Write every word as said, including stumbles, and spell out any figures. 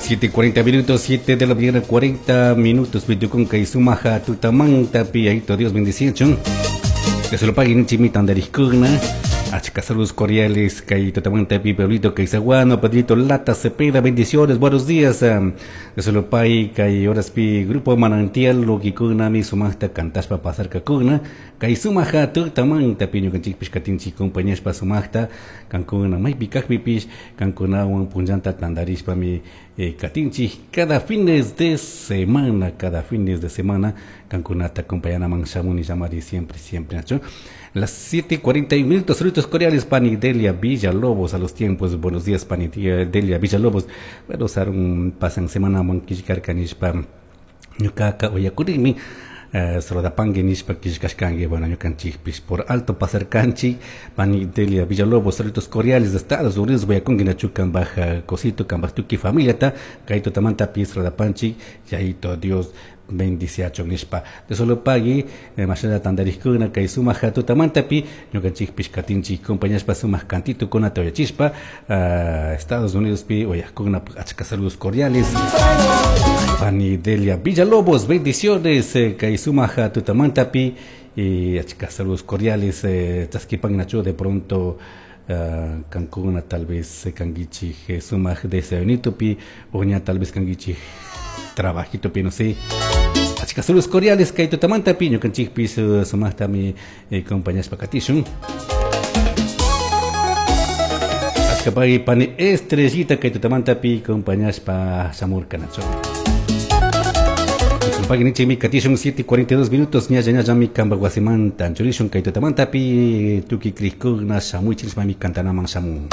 Siete cuarenta minutos, siete de la mañana, cuarenta minutos. Pitucunca y sumaja tutamanta, piyayito, Dios bendiciachun. Que se lo paguen chimitandariscuna. Achka saludos cordiales, kay tutamanta pi pueblito Kaisaguano, Pedrito Lata Cepeda, bendiciones, buenos días. Que se lo pague, kay horas pi grupo Manantial, Loquicuna, mi sumajta cantaspa pasar kakuna. Kay sumaja tutamanta pi ñukanchikpish katinchik compañíaspa sumajta, kankuna maypi kajpipish, kankunawan punllanta tandarishpa mi eh, katinchik cada fines de semana, cada fines de semana, kankunata acompañanaman shamuni llamari siempre, siempre, nacho. Las siete cuarenta y un minutos, saludos cordiales, Pani Delia Villalobos, a los tiempos, buenos días, Pani Delia Villalobos. Bueno, sarun pasan semana manquishkar kanishpa, ñukaka oyakurimi, eh, saludapangue nishpa kishkashkangue, bueno, ñukanchikpish por alto pasar kanchik, Pani Delia Villalobos, saludos cordiales de Estados Unidos, voy a conguina chukan baja cosito, kambaj tuki familia ta, kaito tamanta pi saludapanchik, yaito Dios bendiciacho nishpa. De solo pagui, eh, mashalla tandariskuna, kay sumaq tutamantapi, ñukanchikpish katinchik compañaspa sumaq cantito kuna toyachispa, uh, Estados Unidos pi oyajkuna achka saludos cordiales. Pani Delia Villalobos, bendiciones, eh, kay sumaq tutamantapi, y achka saludos cordiales, eh, chaskipan nacho de pronto uh, kankuna tal vez eh, kanguichij eh, sumaq desayunito pi, oña tal vez kanguichij trabajito pi, no sé. Achka saludos cordiales kay tutamanta pi, ñukanchikpis uh, sumaqtami eh, compañaspa katishun. Achka pagui pani estrellita kay tutamanta pi compañaspa shamurka nacho. Pagui nichimi katishun siete cuarenta y dos minutos, ñalla ñalla mi kamba wasimanta, churishun kay tutamanta pi tuki krikuna shamuy chirismami kantanaman shamun.